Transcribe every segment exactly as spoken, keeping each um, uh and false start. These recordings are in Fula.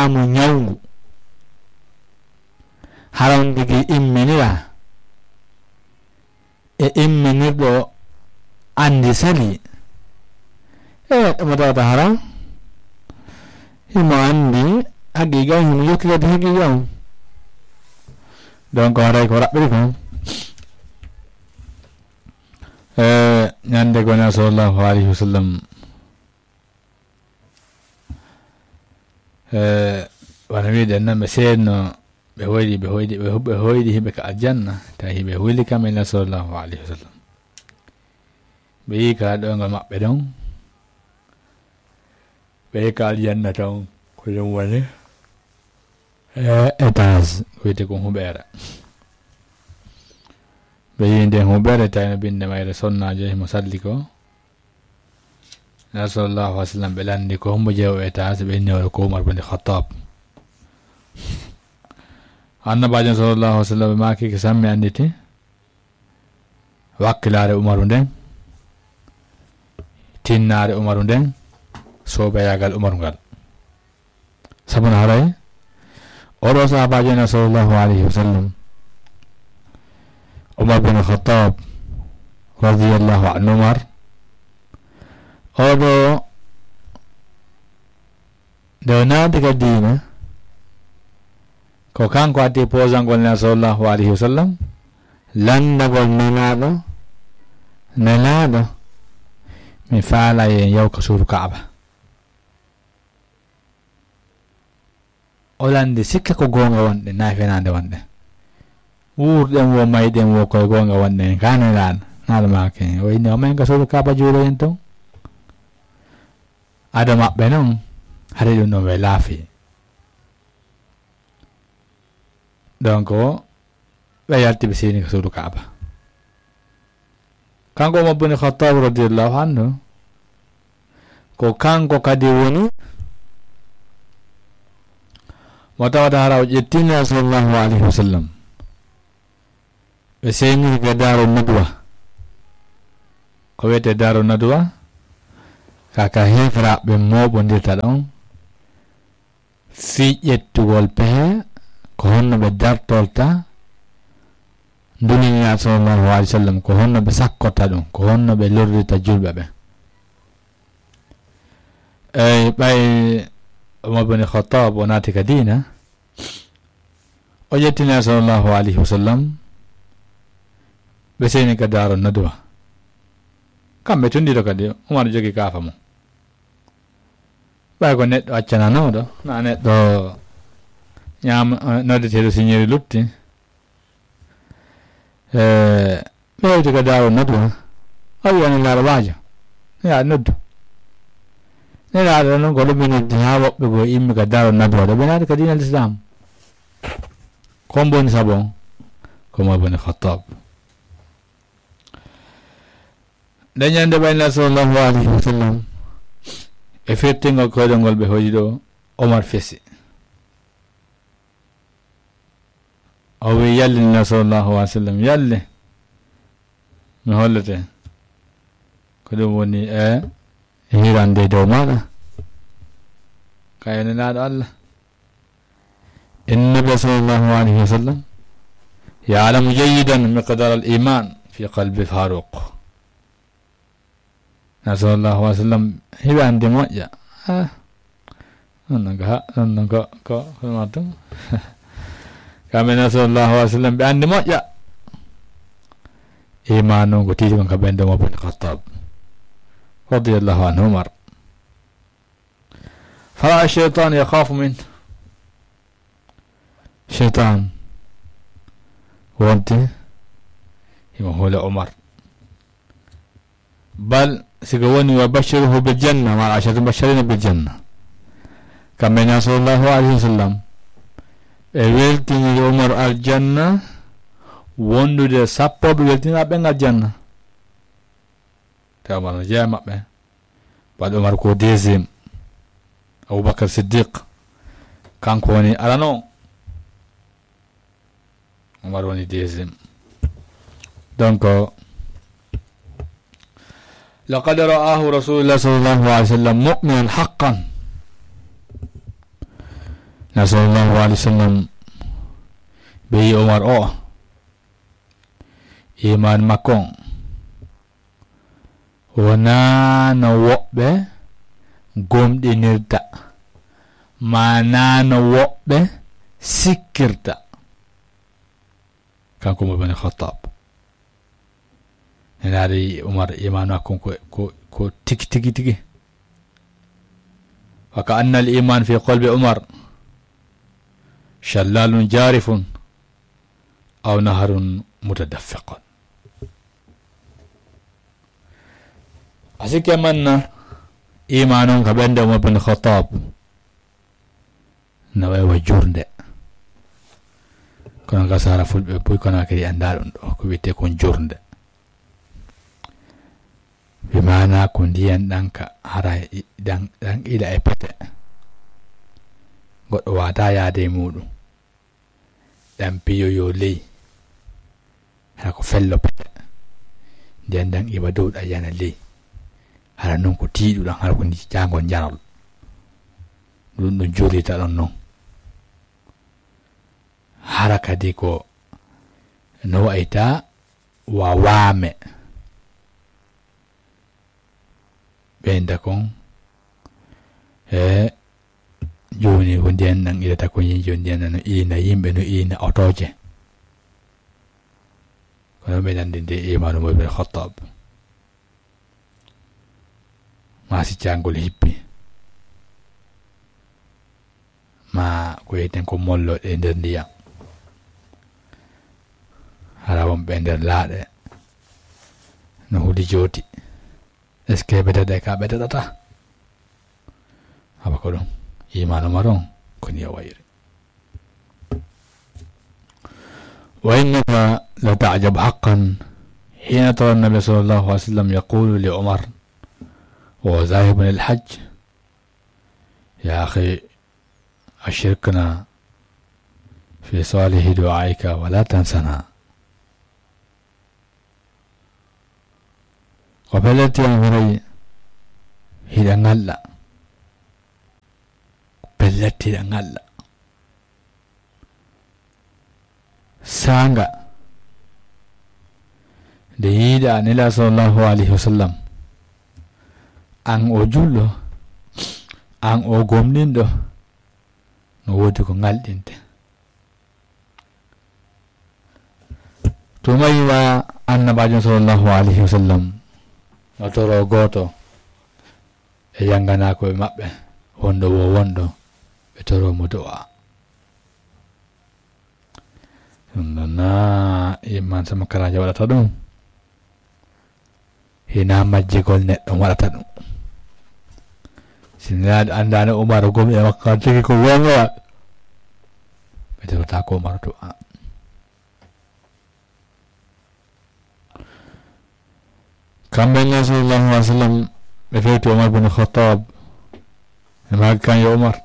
mo ñawngu. Haram tigi imminira e imminirɗo anndi sali. E mo tawata haram, himo anndi haqiqa on, himo yottirede haqiqa on. Donc haray ko raɓɓiri kon. E ñande gona sallallahu alayhi wa sallam, e wano wiɗen nan, ɓe seenno, ɓe hoyɗi, ɓe hoyɗi, ɓe hu-, ɓe hoyɗi hiɓe ka aljanna, tawi hiɓe huli kam e sallallahu alayhi wa sallam. Ɓe yii ka ɗoyngol maɓɓe ɗon, ɓe yii ka aljanna ton, ko ɗum woni, e, étage, ko wiyete ko huɓeere. Ɓe yii nden huɓeere, tawi no binde mayre sonnaajo himo salli ko. Nabi sallallahu alaihi wasallam ɓe lanndi ko hombo jeewo étage, ɓe inni wala ko Umar bin Khattab. Annabaajo sallallahu alaihi wasallam ɓe maaki ko sammi annditi wakkilaare Umaru nden, tinnaare Umaru nden, soobeyaagal Umaru ngal. Sabu no haray oɗo sahabaajo ena sallallahu alaihi wasallam, Umar bin Khattab radiyallahu anhu, Umar, oɗo nde o naati ka diina, ko kanko addi posangol Nelaaɗo sallallahu alaihi wasallam, lanndagol Nelaaɗo, Nelaaɗo, mi faala yen yaw ka suudu Kaaba. O lanndi sikka ko goonga wonɗen, naa fenaande wonɗen. Wuurɗen wo, mayɗen wo, koye goonga wonɗen, ka Nelaaɗo, Nelaaɗo maaki, o inni, o men ka suudu Kaaba juuloyen ton. Ado maɓɓe non, hari ɗum ɗon ɓe laafi. Donc, ɓe yalti ɓe seeni ka suudu Kaaba. Kanko Umar bin Khattab radiyallahu anhu, ko kanko kadi woni mo tawata hara o ƴettini sallallahu alaihi wasallam. Ɓe seeniri ka Daaru Nadwa. Ko wiyetee Daaru Nadwa? Ka, ka heeferaaɓe mooɓondirta ɗon fii ƴettugol pehe, ko honno ɓe dartorta ndu Nelaaɗo sallallahu alaihi wasallam, ko honno ɓe sakkorta ɗum, ko honno ɓe lorrirta julɓe ɓen. Eyi, ɓay Umar bin Khattab o naati ka diina, o ƴettini sallallahu alaihi wasallam, ɓe seeni ka Daaru Nadwa. Kamɓe tun ɗiɗo kadi, Umar jogi kaafa mum. Ɓay ko neɗɗo accananooɗo, na neɗɗo ñaama, eh, noddeteeɗo siñeeri lutti. Eh, ɓe hewti ka Daaru Nadwa. O wi'i Nelaaɗo, "Waajo, ya noddu." Nelaaɗo non ko ɗum ɓe noddi haa woɓɓe goo immi ka Daaru Nadwa, ɗo ɓe naati ka diina Lislaam. Ko mboni sabu on? Ko Umar bin Khattab. Nde ñande ɓay Nelaaɗo sallallahu alaihi wasallam e firtingol koyɗol ngol ɓe hoyɗi ɗo, Omar fesi. O wi'i, "Yalli Nelaaɗo sallallahu alaihi wasallam, yalli. Mi hollete ko ɗum woni e hirande dow maɗa. Ka e Nelaaɗo Allah." Inna Nabi sallallahu alaihi wasallam ya'lamu jayyidan miqdar al-iman fi qalbi Faruq. Nelaaɗo sallallahu alaihi wasallam hiɓe anndi moƴƴa. Ah, non non ko ha, non non ko, ko, ko ɗum ɗum. Kamɓe Nelaaɗo sallallahu alaihi wasallam ɓe anndi moƴƴa iman on ko tiiti kon ka ɓernde Umar bin Khattab radiyallahu anhu Umar. Fara'a shaytan yakhafu min. Shaytan wonti himo hula Umar. Bal sigo woni wa bashiruhu bil janna, ma ashatu bashirina bil janna. Kamɓe Nelaaɗo sallallahu alaihi wasallam ɓe weltiniri Umar aljanna, wondude sappo ɓe weltiniraaɓe ɓen aljanna. Te Umar no jeyaa maɓɓe. Baɗo Umar ko deuxième. Abubakar Siddiq, kanko woni arano. Umar woni deuxième. Donc, laqad ra'ahu Rasulullah sallallahu alaihi wasallam mu'minan haqqan. Nela sallallahu alayhi wa sallam ɓe yi Umar o, iman makko on wonaa no woɓɓe gomɗinirta, maa naa no woɓɓe sikkirta. Kanko Umar bin Khattab, Nelaaɗo yi Umar, iman makko on ko, ko, ko tigi, tigi, tigi. Wa ka anna al iman fi qalbi Umar shallalun jarifun aw naharun mutadaffiqun. A sikke manna iman on ka ɓernde Umar bin Khattab no wayi wa jurde. Kono ka sara fulɓe buy kono kadi annda ɗum ɗo ko wi'ete kon jurde. Ɓe maana ko ndiyan ɗan ka hara i-, ɗan, ɗan ila e pete. Goɗɗo waata yaade e muɗum. Ɗan piyoyo ley. Hara ko fello pete. Ndiyan ɗan iwa dow ɗan yana ley. Hara non ko tiiɗuɗan, hara ko ndi jaangol njanol. Ɗum ɗum jurrita ɗon non. Hara kadi ko no wayta wa waame. Ɓeynda kon. E jooni ko ndiyan ɗan ilata ko yin jooni ndiyan ɗan no ilina yimɓe, no ilina otooje. Kono ɓe nandi nde imanu mo ɓe Khattab. Ma si cangol hippi. Ma ko yeten ko mollo e nder ndiyam. Hara wonɓe e nder laaɗe. No huli jooti. Est-ce que ɓe daɗe ka ɓe daɗata? Haba ko ɗum. Imanu maron ko ni o wayri. وإنك لتعجب حقا حين ترى النبي صلى الله عليه وسلم يقول لعمر وهو ذاهب للحج: يا أخي، أشركنا في صالح دعائك ولا تنسنا. Ko pellet, an haray hiɗa ŋalla. Ko pellet, hiɗa ŋalla. Saanga nde yiiɗa Nela sallallahu alayhi wa sallam, an o julɗo, an o gomɗinɗo, no woodi ko ŋalɗinte. Tuma yiwa Annabaajo sallallahu alayhi wa sallam no toro gooto e jannganaakoɓe maɓɓe, wonɗo wo wonɗo, ɓe toro mo du'a. Ɗum ɗon na imman sama karaajo waɗata ɗum. Hina majjigol neɗɗo waɗata ɗum. Si Nelaaɗo anndaano Umaru gom e makko tigi ko wonga, ɓe torata ko Umaru du'a. Kamɓe ne sallallahu alayhi wa sallam ɓe fewti Umar bin Khattab. Ɓe maaki kan yo Umar.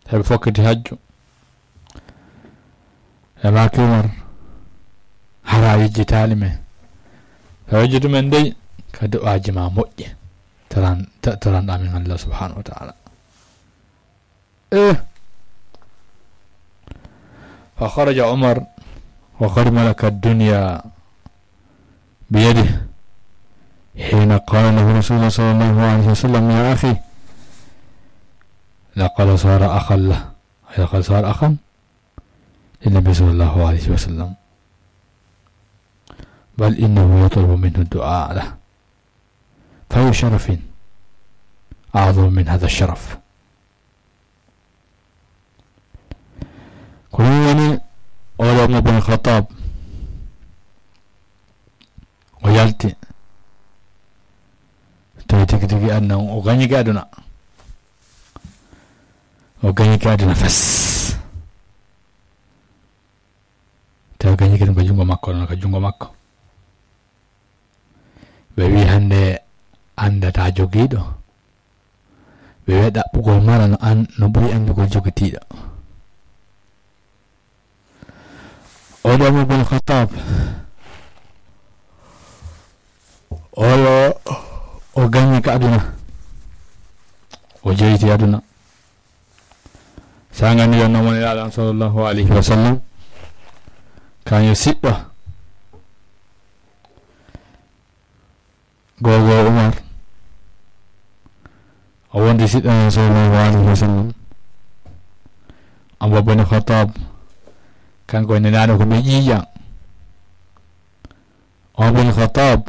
Heɓe fokkiti hajju. Ɓe maaki Umar. Hara yejjitaali men. Ko yejjitumen dey ka du'aaji ma moƴƴi. Taran, ta-, taran amin Allah subhanahu wa ta'ala. إيه. فخرج عمر وقد ملك الدنيا بيده حين قال له رسول الله صلى الله عليه وسلم: يا أخي، لقد صار أخا له، لقد صار أخا للنبي صلى الله عليه وسلم، بل إنه يطلب منه الدعاء له، فأي شرف أعظم من هذا الشرف؟ Ko ɗum woni oɗo Umar bin Khattab, o yalti, tawi tigi tigi aduna, o gañike aduna, o gañike aduna fes, tawi gañike ɗum ko junngo makko, ɗon ko junngo makko. Ɓe wi hannde anndata jogiiɗo. Ɓe wi ɗaɓɓugol mara no an-, no ɓuri anndugol jogitiiɗo. Oɗo Umar bin Khattab, oɗo o gañi ka aduna. O jeyti aduna. Sanga ni ɗon nomon Nelaaɗo on sallallahu alayhi wa sallam, kañum siɗɗo. Gogo Umar, o wondi siɗɗo on sallallahu alayhi wa sallam. Umar bin Khattab, kanko e Nelaaɗo ko ɓe ƴiiƴan. Umar bin Khattab,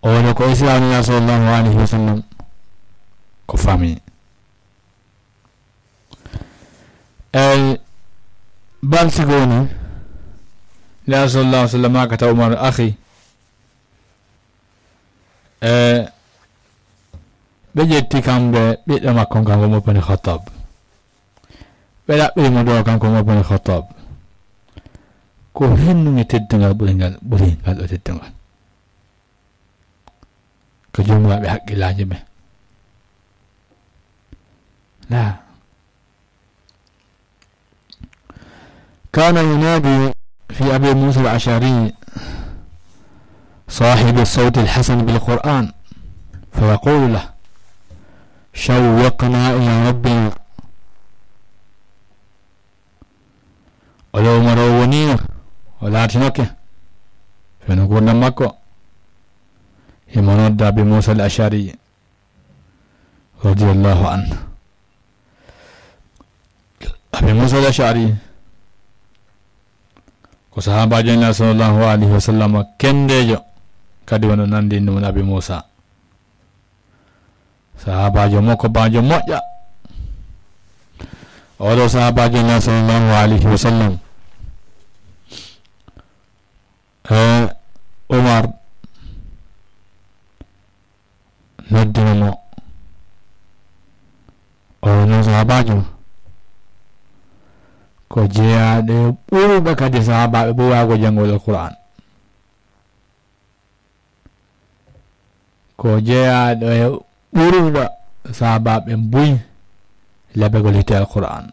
o woni ko Islaam Nelaaɗo sallallahu alayhi wa sallam ko famille. Eyi, bal sigo woni, Nelaaɗo sallallahu alayhi wa sallam maaka taw Umar akhi, e ɓe ƴetti kamɓe ɓiɗɗo makko on kanko Umar bin Khattab. Ɓe ɗaɓɓiri mo ɗo kanko Umar bin Khattab. Ko hennuge teddungal ɓuri ngal, ɓuri ngal ɗo teddungal. Ko jomiraɓe haqqillaaji ɓe. La. كان ينادي في أبي موسى الأشعري صاحب الصوت الحسن بالقرآن، فيقول له: شوقنا إلى ربنا. Oɗo Umar o wonino, o laatinoke, feno gurdam makko. Himo nodda Abi Musa al-Ash'ari, radiyallahu anhu. Abi Musa al-Ash'ari ko sahaabaajo Nelaaɗo sallallahu alayhi wa sallam kendeejo, kadi wano nandi ɗum Abi Musa. Sahaabaajo mo ko baajo moƴƴa. Oɗo sahaabaajo Nelaaɗo sallallahu alayhi wa sallam. E, Umar noddino mo. O no sahaabaajo ko jeyaaɗo e ɓurɓe kadi sahaabaaɓe ɓe waago janngol Alqur'aan. Ko jeyaaɗo e ɓurɗo sahaabaaɓe buy labagol hiite Alqur'aan.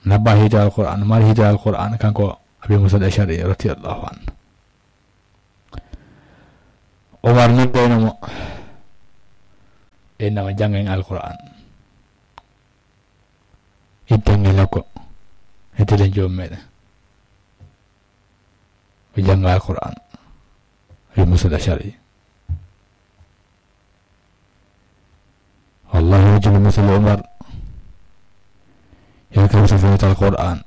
Nabba hiite Alqur'aan, mari hiite Alqur'aan, kanko Abi Musa al-Ash'ari radiyallahu anhu. Umar noddayno mo, innama janngen Alqur'aan. Iddange loko, e telen joom meɗen. Ɓe jannga Alqur'aan. Abi Musa al-Ash'ari. Wallahi, wajjini misal Umar. Yalka Musa fahimta Alqur'aan.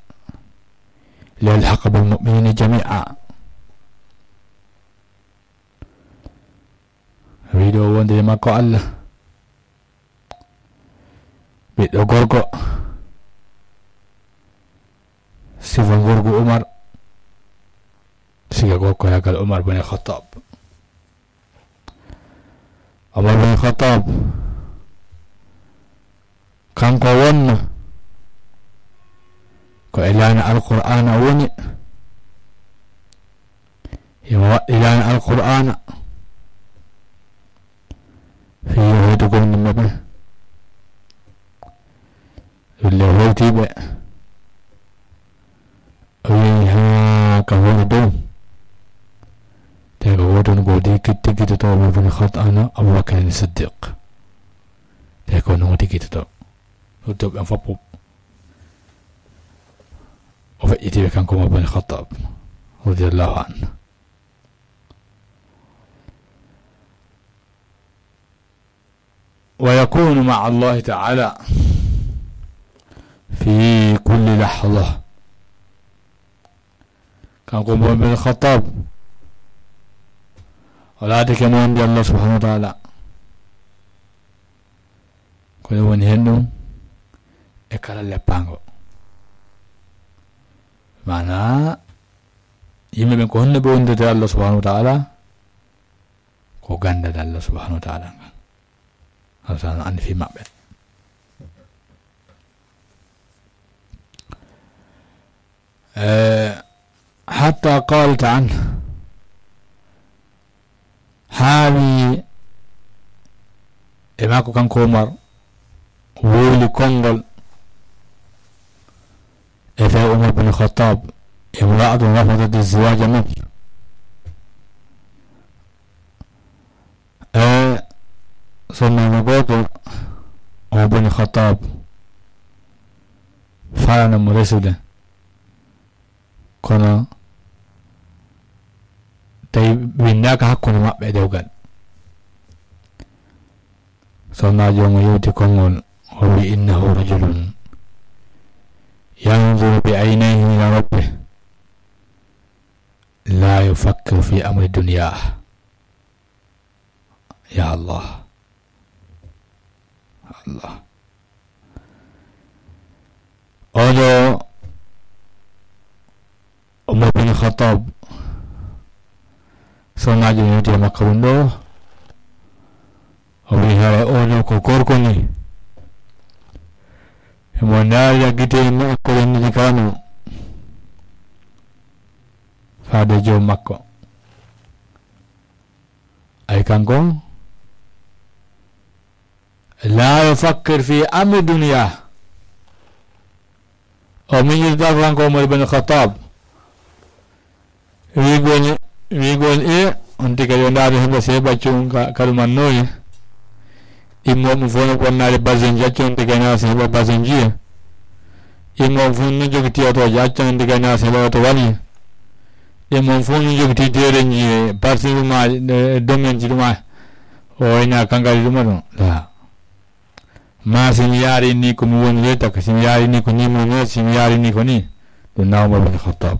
Liyalhaqa bil mu'minina jami'a. Wiɗo wonde e makko Allah. Ɓiɗɗo gorko. Sifa gorko Umar. Siga gorko yagal Umar bin Khattab. Umar bin Khattab, kanko wonno ko e laana Alqur'aana woni. Himo waɗɗi laana Alqur'aana. Fii yo hoytugol yimɓe ɓe. Ɗum le hoytiiɓe. O wi'i haa ka hoore dow. Te ko wooton ko tigi-, tigitotoo mo woni Khattab, Abu Bakr Siddiq. Te ko non tigitotoo. Ɗum to ɓen fof. O feƴƴitiiɓe kanko Umar bin Khattab, radiyallahu anhu. ويكون مع الله تعالى في كل لحظة. Kanko Umar bin Khattab, o laatike mo wonde Allah subhanahu wa ta'ala. Ko ɗum woni hen ɗum e kala leppaango. Maanaa, yimɓe ɓen ko honno ɓe wondirde Allah subhanahu wa ta'ala? Ko ganndal Allah subhanahu wa ta'ala ngal. Allah ta'ala no anndi fii maɓɓe. Eh, hatta qalat anhu, haa wi e makko kanko Umar, wowli konngol e fee Umar bin Khattab, imra'atun rafadat az-ziwaja min. E, sonnaajo gooto Ibn Khattab, faalano mo resude. Kono tawi winndaaka hakkunde maɓɓe e dewgal. Sohnaajo mo yewti konngol, o wi: "Innahu rajulun yanzuru bi aynayhi ila rabbih, la yufakkiru fi amri dunya." Ya Allah. Allah. Oɗo Umar bin Khattab, sohnaajo yewti e makko ɗum ɗo, o wi: "Haray oɗo ko gorko ni, emo ndaarira gite makko ɗen ɗiɗi kano faade joom makko." Ay kanko, la yufakkir fi amri dunya. O miñirta kanko Umar ibn Khattab. Wiigol, wiigol e, on tigi kadi o ndaari hemba se ɓaccu ka, kaɗu man noye. Immo mo fof no bonnaade basenji, accu on tigi na se heɓa basenji e. Immo mo fof no jogiti otooji, accu on tigi na se heɓa oto wali. Immo mo fof no jogiti deerenji e, parti ɗum e, domaine ji ɗum e. O wayna kankadi ɗum ɗon. La. Ma si mi yaari ni ko mi woni le taka, si mi yaari ni ko ni mo ne, si mi yaari ni ko ni. Ɗum na Umar bin Khattab.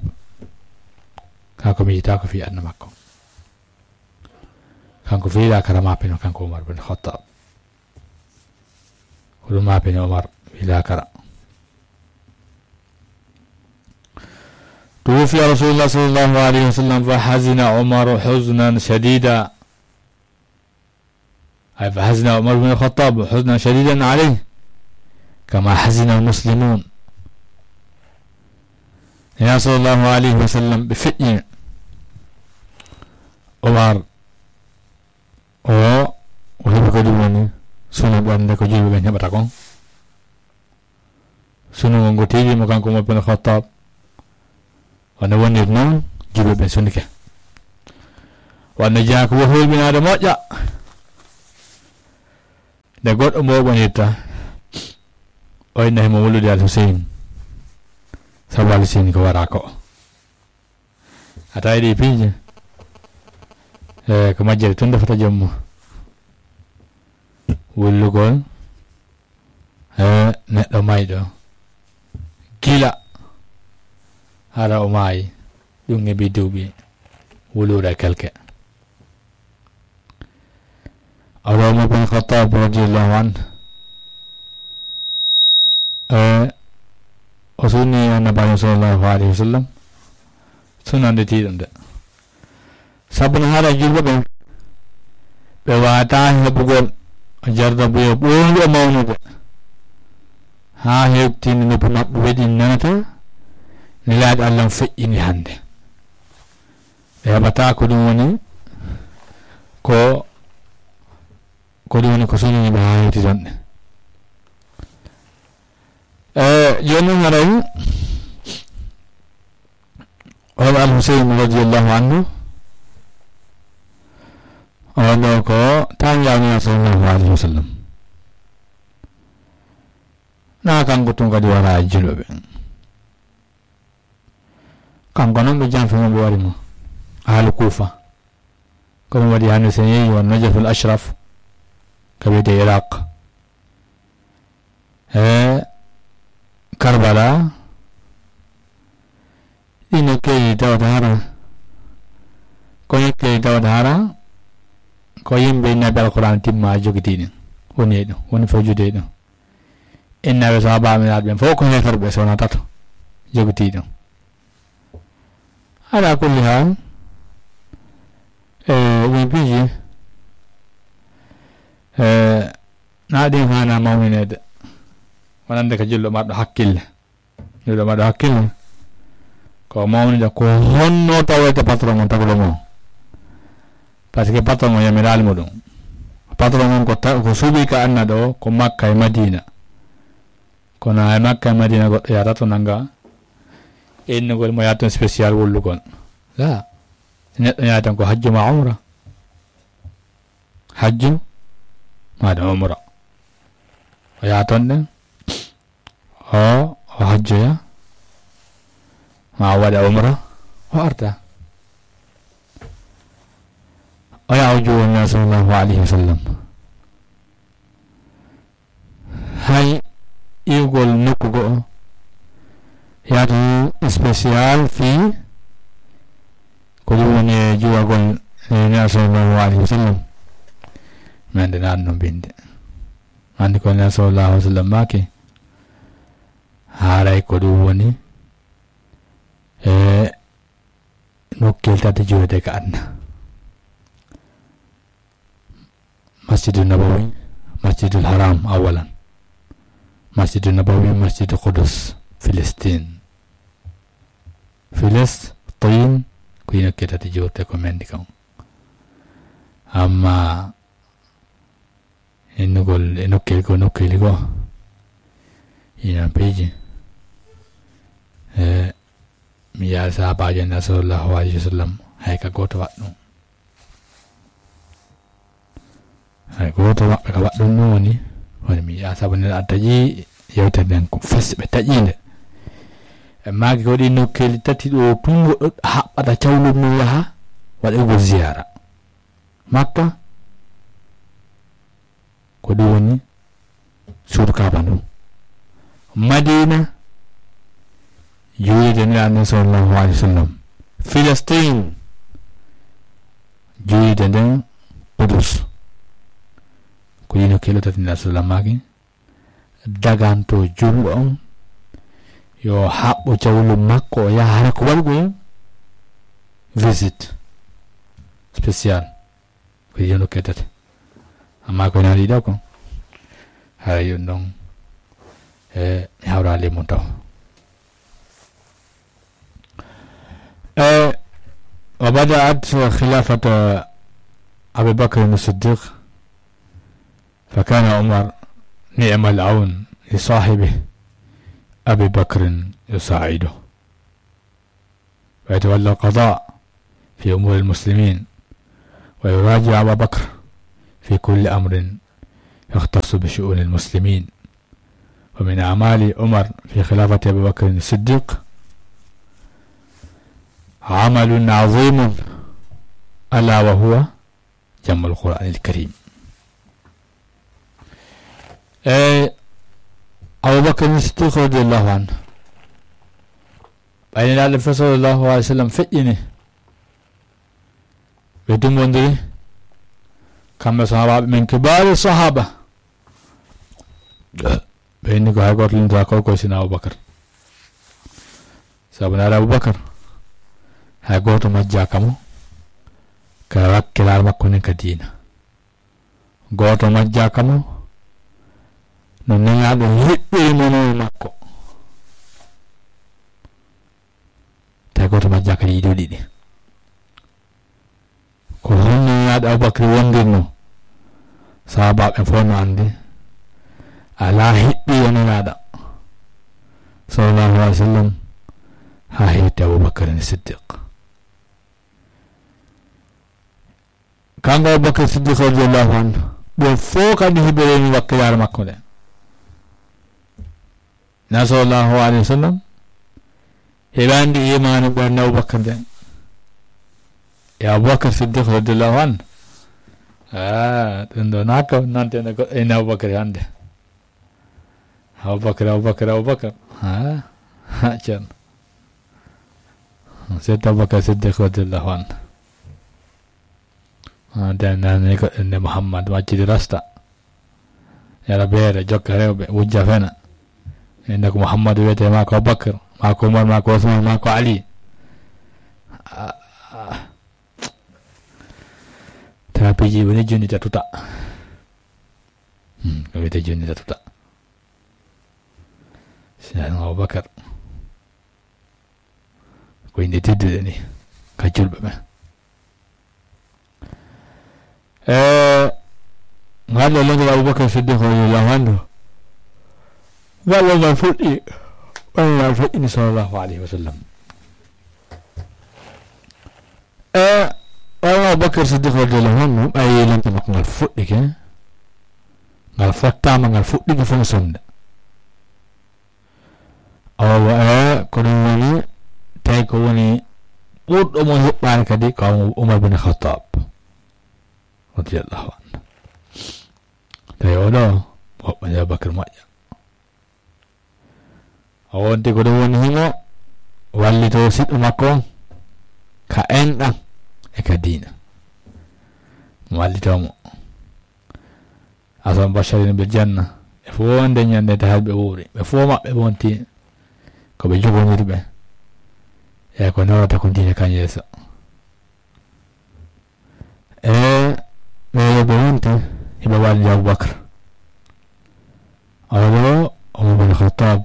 Ka ko mi yita ko fi adna makko. Kanko fi la karama peno kanko Umar bin Khattab. Ko ɗum ma peno Umar fi la kara. توفي رسول الله صلى الله عليه وسلم فحزن عمر حزنا شديدا. أي فحزن عمر بن الخطاب حزنا شديدا عليه كما حزن المسلمون. Nulaaɗo sallallahu alayhi wa sallam ɓe feƴƴi Umar o, o heɓi ko ɗum woni sunu ɓernde ko julɓe ɓen heɓata kon. Sunu ngo ngo tiiɗi mo kanko Umar bin Khattab. Wano wonir noon, julɓe ɓen sunnike. Wano jeyaa ko wo hulɓinaade moƴƴa. Nde goɗɗo mo ɓonirta, o inna himo wulude Al Huseyn. Sabu Al Huseyn ko wara ko. A tawi ɗi piiji? E, ko majjere tun defata joom mo. Wullugol. E, neɗɗo mayɗo, gila hara o maayi, ɗum heɓi duuɓi wuluure kelke. Umar bin Khattab radiyallahu anhu, e, o sunni Annabaajo sallallahu alayhi wa sallam, sunnande tiiɗum de. Sabu no haala julɓe ɓen, ɓe waawataa heɓugol jarrabuya ɓooyuɗo mawnude, haa hewtinde noppi maɓɓe weɗi nanata Nelaaɗo Allah on feƴƴini hannde. Ɓe heɓataa ko ɗum woni ko, ko ɗum woni ko sunniiɓe haa hewti tan ɗe. E, jooni noon haray, on Al Huseyn radiyallahu anhu, on ɗo ko taanjaawo Nulaaɗo sallallahu alayhi wa sallam. Na kanko tun kadi wara e julɓe ɓen. Kanko noon ɓe janfi mo, ɓe wari mo. Ahlu Kuufa. Ko ɗum waɗi hannde so en yehi won Najaful Ashraf, ka wiyetee Iraq. E Karbala, ɗi nokkeeji tawata hara, ko nokkeeji tawata hara, ko yimɓe innaaɓe Alquraan timma jogitii ɗin, woni e ɗum, woni fewjude e ɗum. Innaaɓe sahaabaaɓe ɓen fof ko heeferɓe, so wonaa tato jogitii ɗum. Ala kulli haal, e, ɗin piiji, e, na ɗin haana mawninede, wonande ka julɗo marɗo hakkille. Julɗo marɗo hakkille, ko mawnida ko honno tawete patron on, taguɗo mo. Parce que patron on yamiraali mo ɗum. Patron on ko ta-, ko suuɓi ka anna ɗo, ko Makka e Madina. Kono e Makka e Madina goɗɗo yahata to nanga innugol mo yaha ton spécial wullugol. La. Neɗɗo yaha tan ko hajju ma umra. Hajju ma ɗum umra. O yaha ton ɗen, o, o hajjoya, ma o waɗa umra, o arta. O yaha o juwo Nulaaɗo sallallahu alayhi wa sallam. Hay iwgol nokku go'o, yaadu spécial fii ko ɗum woni e juwagol e Nulaaɗo sallallahu alayhi wa sallam. Men de naat no binde. Anndi ko Nulaaɗo sallallahu alayhi wa sallam maaki, haaray ko ɗum woni e nokkel tati juwete ka aduna. Masjidu Nabawi, Masjidul Haram awalan. Masjidu Nabawi, Masjidu Qudus, Filistin. Filistin, ko ino ketati jurte ko mendi kan. Amma innugol e nokkeeli ko, nokkeeli ko, ina piiji. E, mi yaha sahabaajo Nulaaɗo sallallahu alayhi wa sallam, hay ka gooto waɗ ɗum. Hay gooto maɓɓe ka waɗ ɗum ɗum woni, woni mi yaha sabu nde a taƴi yewtere nden ko fes ɓe taƴi nde. E maaki ko ɗi nokkeeli tati ɗo tun goɗɗo haɓɓata cawlum mum yaha waɗugol ziyaara. Makka, ko ɗum woni suudu Kaaba ndu. Madiina, juulirde Nulaaɗo sallallahu alayhi wa sallam. Filistin, juulirde nden Qudus. Ko ɗi nokkeeli tati Nulaaɗo sallam maaki, daganto julɗo on, yo haɓɓo cawlu makko, o yaha hara ko waɗugol visite spécial. Ko ɗi nokkeeli tati. Amma ko nani ɗo ko, haray ɗum ɗon, e, mi hawraali mum taw. E, وبدأت خلافة أبي بكر الصديق، فكان عمر نعم العون لصاحبه أبي بكر يساعده. ويتولى القضاء في أمور المسلمين، ويراجع أبا بكر في كل أمر يختص بشؤون المسلمين. ومن أعمال عمر في خلافة أبي بكر الصديق عمل عظيم، ألا وهو جمع القرآن الكريم. E, Abubakar Siddiq radiyallahu anhu, ɓay Nelaaɗo sallallahu alayhi wa sallam feƴƴini, ɓe dumbondiri, kamɓe sahaabaaɓe men, kibaari sahaaba. Ɓe inni ko hay gooto lintaa ko, ko sina Abubakar. Sabu naare Abubakar, hay gooto majjaaka mo ka wakkilaare makko nden ka diina. Gooto majjaaka mo no Nelaaɗo hiɓɓiri mo no e makko. Tawi gooto majjaaka ɗi ɗiɗo ɗiɗi. Ko honno Nelaaɗo Abubakar wondirno? Sahaabaaɓe fof no anndi, alaa hiɓɓiiɗo Nelaaɗo sallallahu alayhi wa sallam haa heewti Abubakar Siddiq. Kanko Abubakar Siddiq radiyallahu anhu, ɗum fof kadi hiɓɓireeni wakkilaare makko nde. Nelaaɗo sallallahu alayhi wa sallam heɓaani imaanu ɓernde Abubakar nden. E Abubakar Siddiq radiyallahu anhu. Ah, ɗum ɗo naa ko nantene goɗɗo ene Abubakar hannde. Abubakar, Abubakar, Abubakar. Ah, ah, Ceerno. Seydina Abubakar Siddiq radiyallahu anhu. Ah, den nani ko inde Muhammad, waccidi rasta. Yara beere, jokka rewɓe, wujja fena. Inde ko Muhammadu wiyete, maa ko Abubakar, maa ko Umar, maa ko Usman, maa ko Ali. Ah, ah. Tawa piiji woni jonni ta tuta. Hmm, ko wiyete jonni ta tuta. Seydina Abubakar. Ko inde teddude ni, ka julɓe ɓen. E, ngal ɗo longol Abubakar Siddiq radiyallahu anhu, ngal ɗo ngal fuɗɗi, ɓay ngal feƴƴini sallallahu alayhi wa sallam. E, ɓay Abubakar Siddiq radiyallahu anhu, ɓay longol makko ngal fuɗɗike, Ngal fottaama, ngal fuɗɗike fof no sonda. Awa, e, ko ɗum woni, tawi ko woni ɓurɗo mo hiɓɓaade kadi ko Umar bin Khattab, radiyallahu anhu. Tawi oɗo, o hoɓɓani Abubakar moƴƴa. O wonti ko ɗum woni himo wallitoo siɗɗo makko on ka enɗan e ka diina. Wallitoo mo. Asal basharina bil janna. Ɓe fof wonde ñande tahat ɓe wuuri. Ɓe fof maɓɓe wonti ko ɓe jogondirɓe. E ko nawata ko diina kan yeeso. E ɓe yoɓe wonti hiɓe wallidi Abubakar. Oɗo Umar bin Khattab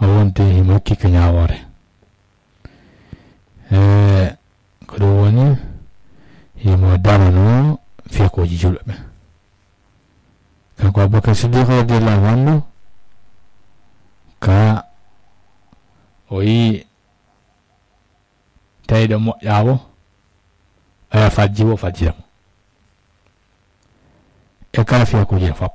o wonti himo hokki ka ñaawoore. E ko ɗum woni himo darano fiyakuuji julɓe ɓe. Kanko Abubakar Siddiq radiyallahu anhu ka o yi tawi ɗo moƴƴawo, aya fajji wo fajjira mo. E kala fiyakuuji ɗin fof.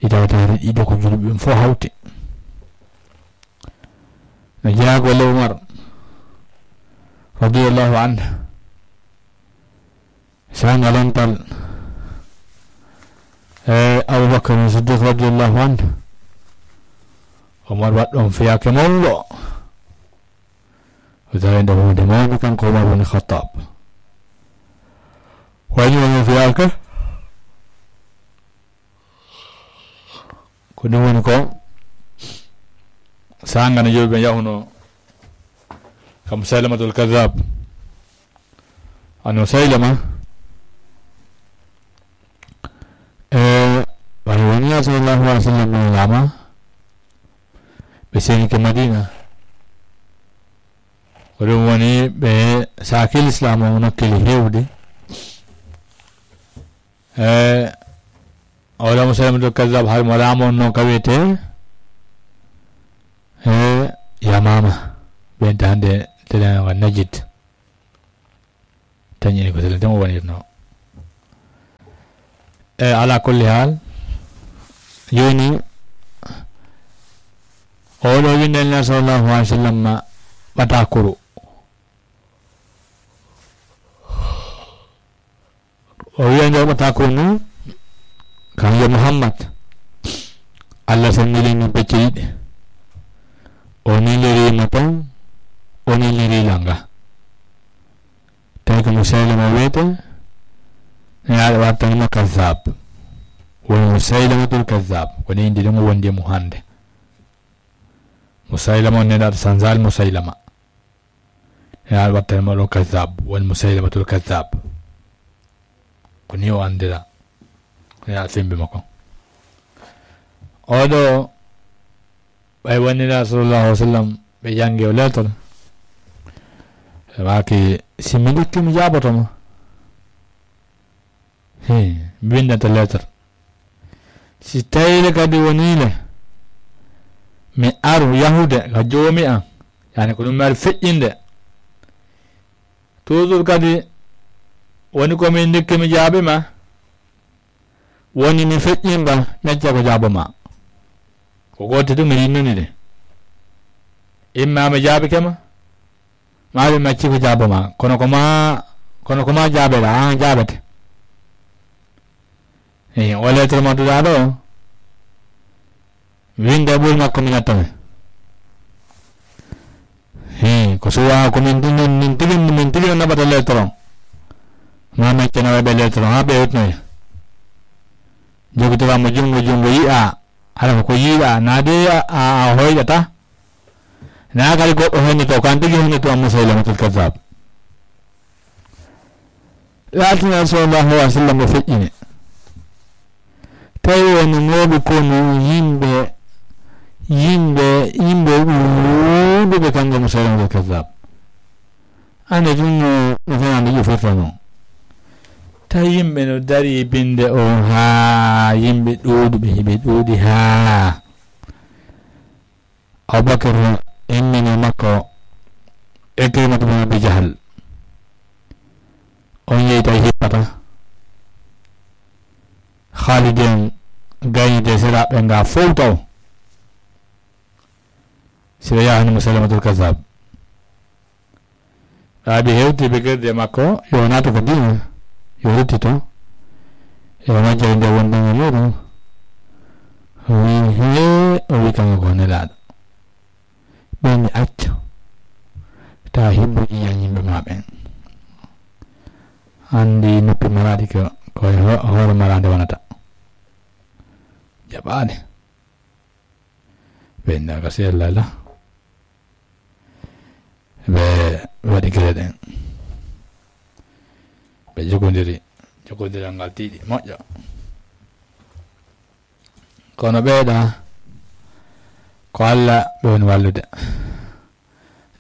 Ita wata ɗiɗo ko julɓe ɓen fof hawti. No jeyaa golle Umar radiyallahu anhu. Sanga lantal, e, Abubakar Siddiq radiyallahu anhu. Umar waɗ ɗon fiyake mawɗo. O tawi ɗo hunde mawde kanko Umar bin Khattab. Waɗi on fiyake. Ko ɗum woni ko sanga no yewɓe yahuno ka Musaylamatul Kadhab. An Musaylama, e, wano woni Nabi sallallahu alaihi wasallam no lama, ɓe senike Madina. Ko ɗum woni ɓe saaki Lislaam o nokkeli heewde. E, o wala Musaylamatul Kadhab, hay mo laamu on noon ka wiyetee, e, Yamaama, ɓen ta hannde telen wa Najid. Tañi ko telen tan o wonirno. E, ala kulli haal, jooni, oɗo winde Nabi sallallahu alaihi wasallam ɓatakuru. O wiya nde waɗata ko ni, kam yo Muhammad, Allah sennilini becce ɗiɗi. O nelirima tan, o neliri langa. Tawi ko Musaylama wiyete, nelaaɗo wattanima Kazzab. Woni Musaylamatul Kazzab, ko ni indi ɗum wondi e mum hannde. Musaylama on nelaaɗo Sanzal Musaylama. Nelaaɗo wattanima ɗo Kazzab, woni Musaylamatul Kazzab. Ko ni o anndira. Ko nelaaɗo sembe makko. Oɗo, ɓay wonira sallallahu alaihi wasallam, ɓe janngi o lettre. Ɓe maaki, si mi ndikki mi jaaboto ma. He, mi winndata lettre. Si tawii le kadi wonii le, mi aru yahude ka joomi an, yani ko ɗum mi ari feƴƴinde. Toujours kadi woni ko mi ndikki mi jaabi ma, woni mi feƴƴimba, mi acca ko jaabo ma. Ko gooto ɗum mi rinnoni de. Imma mi jaabi kema, maa ɓe macci ko jaabo ma. Kono ko ma, kono ko ma jaabela, an jaabete. Eyi, o lettre mo duɗaa ɗo, winde ɓuri makko mi natta mi. He, ko suwa ko min tigi, min tigi, min tigi naɓata lettre on. Ma meccana waɓe lettre on, ha ɓe hewtinoya. Jogitora mo jungo, jungo yi'a, ala ko yi'a, na de a, a, a hoyɗata. Na kadi goɗɗo hennito, ko an tigi hennito, an Musaylamatul Kazzab. Laatina sallallahu alaihi wasallam o feƴƴini. Tawi woni mooɓe kono yimɓe, yimɓe, yimɓe ɗuuɗuɓe kanko Musaylamatul Kazzab. Ande tun no, no fenande ƴufirta noon. Tawi yimɓe no dari e binde o haa yimɓe ɗuuɗuɓe, hiɓe ɗuuɗi haa. Abubakar immini makko Ikrimatu bin Abi Jahal. On yehi tawi hippata. Haalidi en gaynide seraaɓe nga fow taw. Si ɓe yahani Musaylamatul Kazzab. Ɓaaɓe hewti ɓe gerdi e makko, yo naatu ko diina, yo ruttito. E o majjere nde wonde e muɗum. O wi, "Hee," o wi, "kanko ko nelaaɗo." Ɓe ni acca. Ta himbuji yan yimɓe ma ɓen. Andi noppi maraɗi ko, ko e ho-, hoore maraɗe wonata. Jaɓaade. Ɓe nda ka sella la. Ɓe waɗi gere ɗen. Ɓe jogondiri. Jogondiral ngal tiiɗi, moƴƴa. Kono ɓeeɗa ko Alla ɓe woni wallude.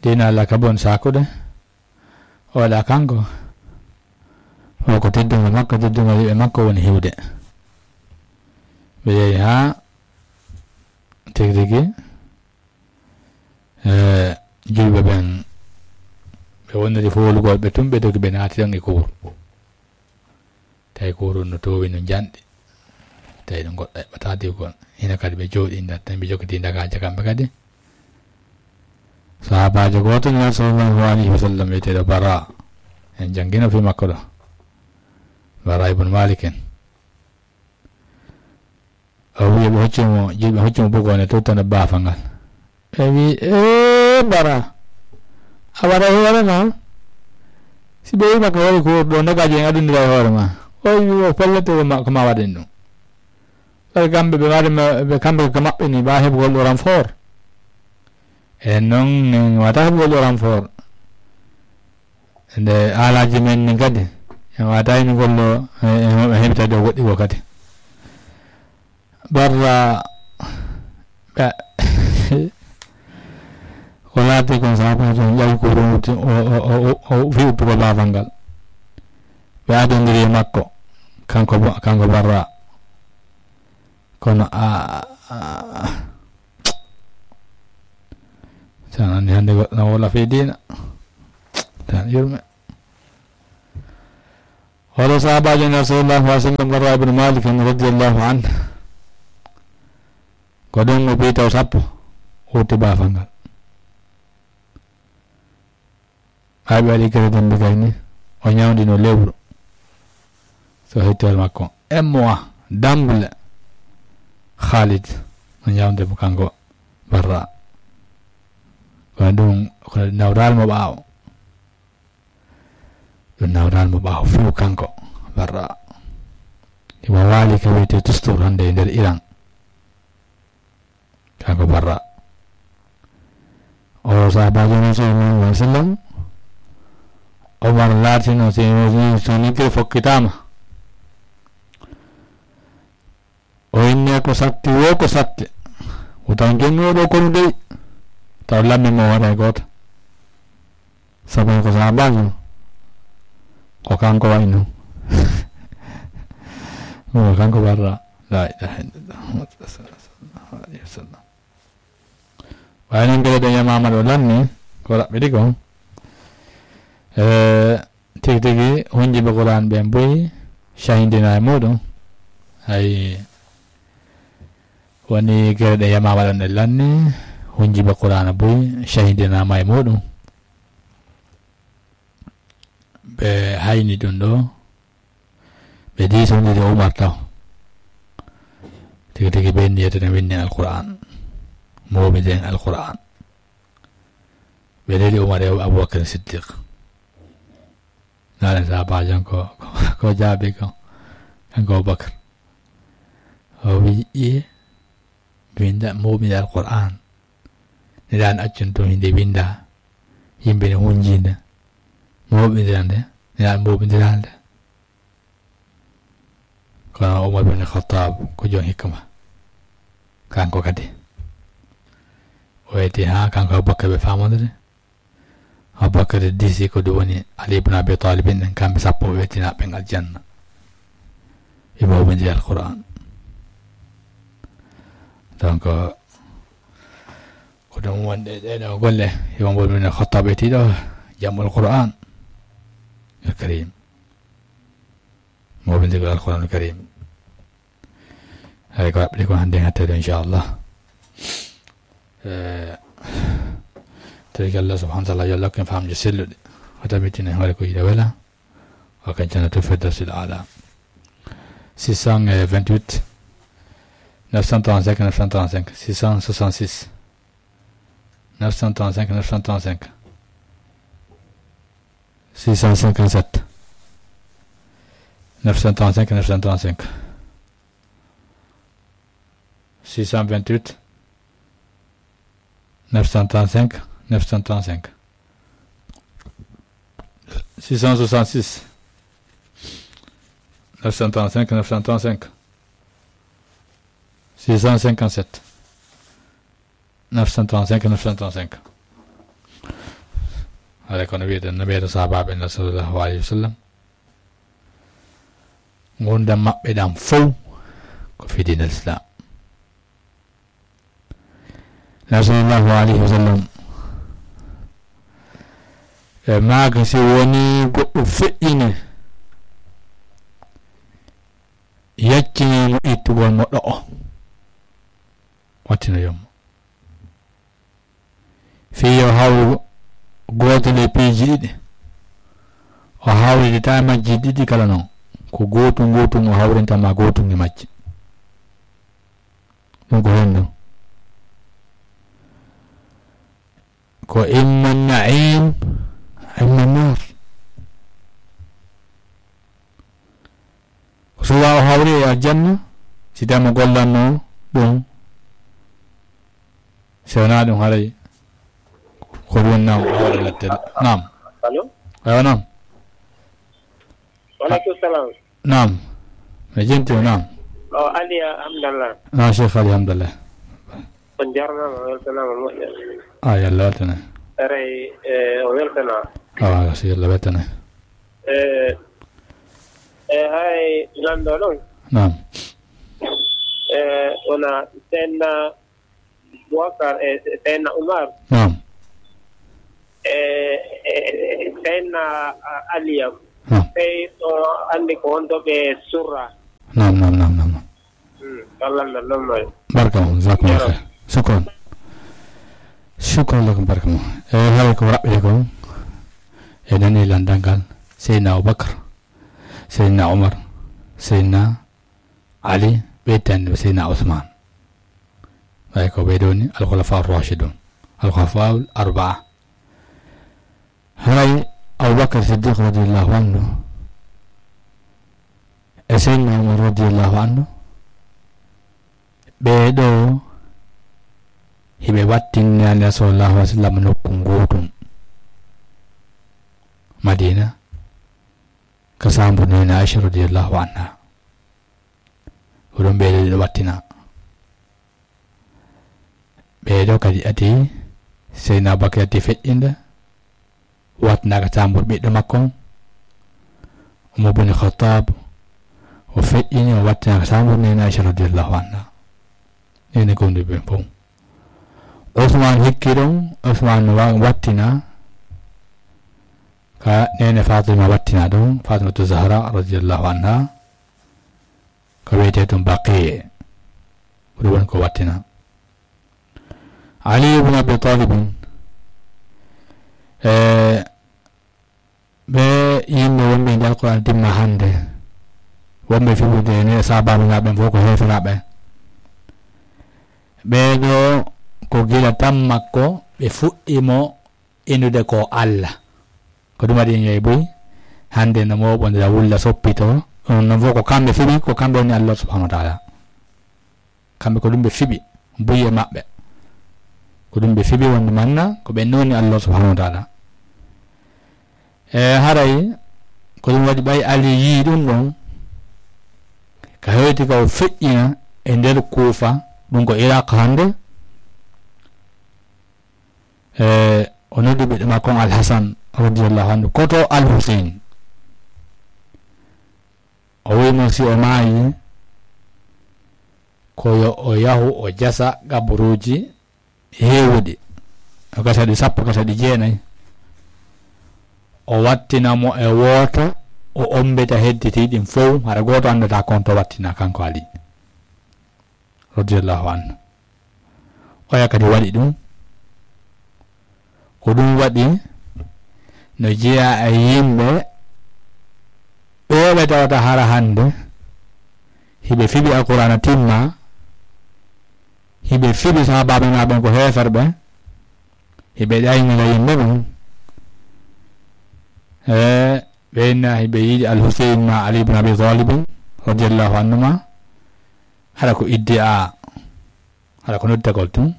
Diina Alla ka bon sakude. O waɗa kanko. O ko teddungal makko, teddungal yimɓe makko woni hiwde. Ɓe yehi haa tigi tigi, e, julɓe ɓen, ɓe woniri foolugol ɓe tun, ɓe dogi, ɓe naati ɗon e kuur. Tawi kuur no toowi no njanɗi. Tawi ɗum goɗɗo eɓɓata diwgol. Hino kadi ɓe jooɗi nda-, tan ɓe jokkitii ndagaaje kamɓe kadi. Sahaabaajo gooto Nulaaɗo sallallahu alayhi wa sallam wiyeteeɗo Bara. En janngino fii makko ɗo. Bara ibn Malik en. O wiyi ɓe hocci mo, jiɗi ɓe hocci mo bugoonde tottude baafal ngal. Ɓe wiyi, "Ee, Bara, a waɗa e hoore ma? Si ɓe wiima ko waɗi ko ɗo ndagaaji en adundira e hoore ma." O wiyi, "O pellet ko ma, ko ma waɗen ɗum." Ɓay kamɓe ɓe waɗi ma, ɓe kamɓe ko maɓɓe ni, ɓa heɓugol ɗo renfort. En noon, en wata heɓugol ɗo renfort. Nde haalaaji men ni kadi, en wata hino gollo, e, e, e heɓitade o woɗɗi ko kadi. Barra, ɓe, ko laati kon sabu on ƴawi ko o, o, o, o, o fi uttugo baafal ngal. Ɓe adondiri e makko, kanko bo, kanko Barra. Kono a, a, a, Tan anndi hannde goɗɗo na woola fii diina. Tan yurme. Hoto sahaabaajo Nulaaɗo sallallahu alaihi wasallam, Barra ibn Malik en radiyallahu anhu. Ko ɗum o ɓii taw sappo, o utti baafal ngal. Ɓay ɓe waɗi gere dembe kay ni, o ñawndino lewru. So hettoore makko, un mois, dambule. Khalid, o ñawde mo kanko Barra. Kono ɗum, ko nawral mo ɓaawo. Ɗum nawral mo ɓaawo few kanko Barra. Imo waali ka wiyetee Tustur hannde e nder Iran. Kanko Barra. O sahaabaajo Nulaaɗo sallallahu alaihi wasallam. Omar laatino, so, so, so niggere fokkitaama. O inni ko satti wo ko satti. O tan jonni o ɗo kono dey. Taw lammi mo waɗa e gooto. Sabu ko sahaabaajo. Ko kanko wayi noon. Ko kanko Barra. La ilaha illallah. Muhammad sallallahu alaihi wasallam. Waawi noon mbele ɗo yamaama ɗo lanni, ko raɓɓiɗi ko. E, tigi tigi, hunjiɓe Qur'an ɓen buy, cahidina e muɗum. Hay woni gere ɗe yamaama ɗon e lanni, hunjiɓe Qur'an buy, cahidinaama e muɗum. Ɓe hayni ɗum ɗo, ɓe diisondiri Umar taw. Tigi tigi ɓe inni yetene winni Alqur'an. Mooɓinden Alqur'an. Ɓe leli Umar e Abubakar Siddiq. Naalen sahaabaajo on ko, ko, ko jaabi ko. Kanko Abubakar. O wi, "Iye, winda, mooɓinde Alqur'an. Nde ɗan accun tun hinde winda. Yimɓe ne hunjinde. Mooɓindira nde, nde ɗan mooɓindira nde." Kono Umar bin Khattab ko joom hikma. Kanko kadi. O weti ha kanko Abubakar ɓe famondiri. Abubakar diisi ko ɗum woni Ali ibn Abi Talib en kamɓe sappo ɓe wetinaaɓe ɓen aljanna. Ɓe mooɓindiri Alqur'an. Donc, ko ɗum wonde ɗeɗo golle, yo Umar bin Khattab etiɗo jamɓol Qur'an. Al Karim. Mooɓindirgol Alqur'anul Karim. Hay ko waɗɓe ko hannde ngattee ɗo, inchallah. Eh, tawi ko Allah subhanahu wa taala yo Allah hokku en faamde selluɗe. O tabitina hoore ko yiɗa wela. O kan Jannatul Firdawsil Aala. Six cent vingt-huit, neuf cent trente-cinq, neuf cent trente-cinq, six cent soixante-six, neuf cent trente-cinq, neuf cent trente-cinq, six cent cinquante-sept, neuf cent trente-cinq, neuf cent trente-cinq, six cent vingt-huit, neuf cent trente-cinq, neuf cent trente-cinq, six cent soixante-six, neuf cent trente-cinq, neuf cent trente-cinq, six cent cinquante-sept, neuf cent trente-cinq, neuf cent trente-cinq. Haray kono wiyeɗen no ɓeeɗo sahabaaɓe en sallallahu alayhi wa sallam, ngurndan maɓɓe ɗan fow ko fii diinal Islam. Nabi sallallahu alayhi wa sallam e maaka, si woni goɗɗo feƴƴine, yaccine mo ittugol mo ɗo'o, wattino yomma. Fii yo hawru gootel e piiji ɗiɗi, o hawrita e majji ɗiɗi kala non. Ko gootum gootum o hawrinta ma gootum e majji. Ɗum ko honɗum? Ko imma na'iim, imma naar. Ko suwa o hawri e aljanna, si tawii mo gollanno ɗum. Si wonaa ɗum, haray ko ɗum woni naam o waɗa lattele. Naam. Allo? Ewa, naam. Wa aleykum salam. Naam. Mi jenti o, naam. O Ali Hamdallah. Naam, Cheikh Ali Hamdallah. On jarnama, weltanama moƴƴa. A, yo Allah weltane. Eray, e, o weltana. Awa, si yo Allah weltane. E, e, hay lanɗo ɗon. Naam. E, wona Seydina Boubacar e Seydina Umar. Naam. E, e, e Seydina, a, Aliya. Naam. Sey o anndi ko wonto ɓe surra. Naam, naam, naam, naam, naam. Hmm, Allah na lomma. Barka mo, jazakumullah khair. Shukran. Shukran lakum, barka mo. E, haray ko raɓɓiɗe ko. E nani landal ngal. Seydina Abubakar, Seydina Umar, Seydina Ali, ɓe tanni Seydina Usman. Ɓay ko ɓe ɗoni al-khulafa ar-rashidun, al-khulafa al-arba'a. Haray Abubakar Siddiq radiyallahu anhu e Seydina Umar radiyallahu anhu, ɓee ɗoo hiɓe wattinani Rasulullah sallallahu alaihi wasallam nokku ngootum Madina, ka saambu Neene Aisha radiyallahu anha. Ko ɗum ɓee ɗoo ɗiɗo wattina. Ɓee ɗoo kadi ati, Seydina Abubakar ati feƴƴinde, wattinaaka saambuur ɓiɗɗo makko on, Umar bin Khattab, o feƴƴini, o wattinaaka saambuur Neene Aisha radiyallahu anha. Neene gomɗinɓe ɓen fow. Usman hikki ɗon, Usman wa-, wattina, ka neene Fatima wattina ɗon, Fatimatu Zahra radiyallahu anha, ko wiyetee ɗum Baqi, ko ɗum woni ko wattina. Ali ibn Abi Talib, e ɓe yimɓe wonɓe e nder Alqur'an dimma hannde, wonɓe fiɓude e nder sahaabaaɓe ɓen fof ko heeferaaɓe. Ɓee ɗoo ko gila tan makko ɓe fuɗɗi mo innude ko Allah. Ko ɗum waɗi en yehi buy hannde no mooɓondira wulla soppito. Ɗum noon fof ko kamɓe fiɓi, ko kamɓe woni Allah subhanahu wa ta'ala. Kamɓe ko ɗum ɓe fiɓi, buy e maɓɓe. Ko ɗum ɓe fiɓi wonde manna, ko ɓen woni Allah subhanahu wa ta'ala. E haray, ko ɗum waɗi ɓay Ali yii ɗum ɗon, ka heewti ka o feƴƴina e nder Kuufa, ɗum ko Iraq hannde. E o noddi ɓiɗɗo makko on Al-Hasan radiyallahu anhu, koto Al-Husayn. O wi'i mo si o maayi, ko yo o yahu o jasa qaburuuji heewuɗi. O gasa ɗi sappo, gasa ɗi jeenay. O wattina mo e wooto, o ommbita hedditi ɗin fow, hara gooto anndataa kon to wattina kanko Ali. radiyallahu anhu. Oya kadi waɗi ɗum. Ko ɗum waɗi no jeyaa e yimɓe ɓe ɓe tawata hara hannde hiɓe fiɓi Alqur'aana timma, hiɓe fiɓi sahaabaaɓe maa ɓen ko heeferɓe, hiɓe ɗaynira yimɓe ɓen. E ɓe inna hiɓe yiɗi Al Huseyn ma Ali ibn Abi Talib radiyallahu anhuma, hara ko iddia, hara ko noddagol tun.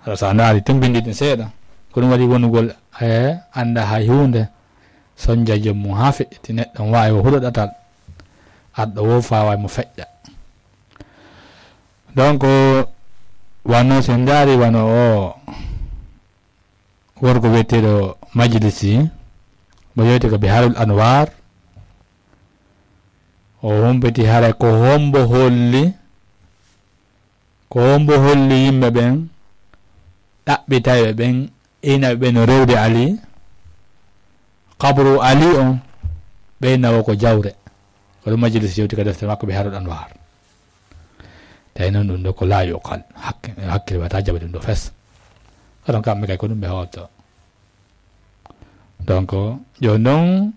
Hara so a ndaari tun binndi ɗin seeɗa, ko ɗum waɗi wonugol e annda hay huunde, sonja joom mum haa feƴƴiti, neɗɗo on waawi o huɗo ɗatal, arɗo wo faaway mo feƴƴa. Donc, wano so en ndaari wano o gorko wiyeteeɗo Majlisi, mo yewti ko Biharul Anwar, o humpiti hara ko hombo holli, ko hombo holli yimɓe ɓen, ɗaɓɓitayɓe ɓen, inaɓe ɓen no rewde Ali, qabru Ali on, ɓe inna wo ko jawre. Ko ɗum Majlisi yewti ka deftere makko Biharul Anwar. Tawi noon ɗum ɗo ko laa yuqal, hakke-, hakkille wata jaɓa ɗum ɗo fes. Kono kamɓe kay ko ɗum ɓe hawto. Donc, jooni noon,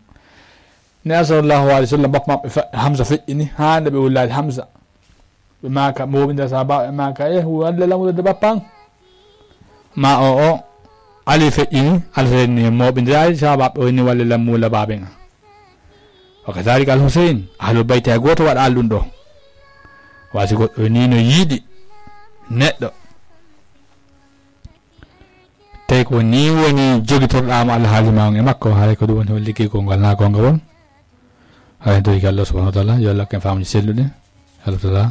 Neɗɗo sallallahu alayhi wa sallam, bappa maɓɓe fe-, Hamza feƴƴini, haa nde ɓe wullaade Hamza. Ɓe maaka, mooɓindira sahaabaaɓe, ɓe maaka, "Eh, walle lamude de bappa an." Ma o, o, Ali feƴƴini, Alhuseyn ni mooɓindiraade sahaabaaɓe, o ni, "Walle lam muula baaben an." Wa kadhalika Alhuseyn, Ahlul Bayti hay gooto waɗaali ɗum ɗo. Wa si goɗɗo ni no yiɗi neɗɗo, tawi ko ni woni jogitorɗaama alhaali ma on e makko, haray ko ɗum woni hol liggey gonngal naa gonngal won. Haray en torike Allah subhanahu wa ta'ala, yo Allah hokke en faamuji selluɗi. Allah ta'ala,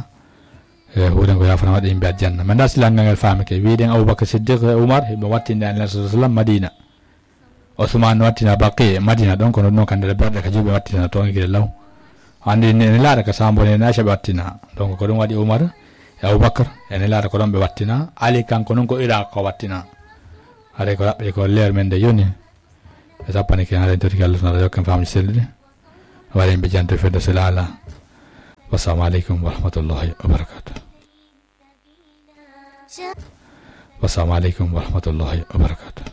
e huuren ko yaafana waɗa yimɓe aljanna. Men da silangal ngal faamike. Wiɗen Abubakar Siddiq e Umar, hiɓe wattinde Annabi sallallahu alayhi wa sallam Madina. Usman wattina Baqi Madina ɗon, kono ɗum ɗon ka nder berɗe ka juuɓe wattina toon gila law. Anndi ne, ne laara ka Sambo ne Aisha ɓe wattina. Donc ko ɗum waɗi Umar e Abubakar, ene laara ko ɗon ɓe wattina. Ali kanko noon ko Iraq ko wattina. Haray ko raɓɓe ko leer men nde yoni. Ɓe sappani ke haray toriki Allah subhanahu wa ta'ala yokken faamuji selluɗi. Waɗa yimɓe janto fedde so laala. Wassalamu aleykum wa rahmatullahi wa barakatuh. Wassalamu aleykum wa rahmatullahi wa barakatuh.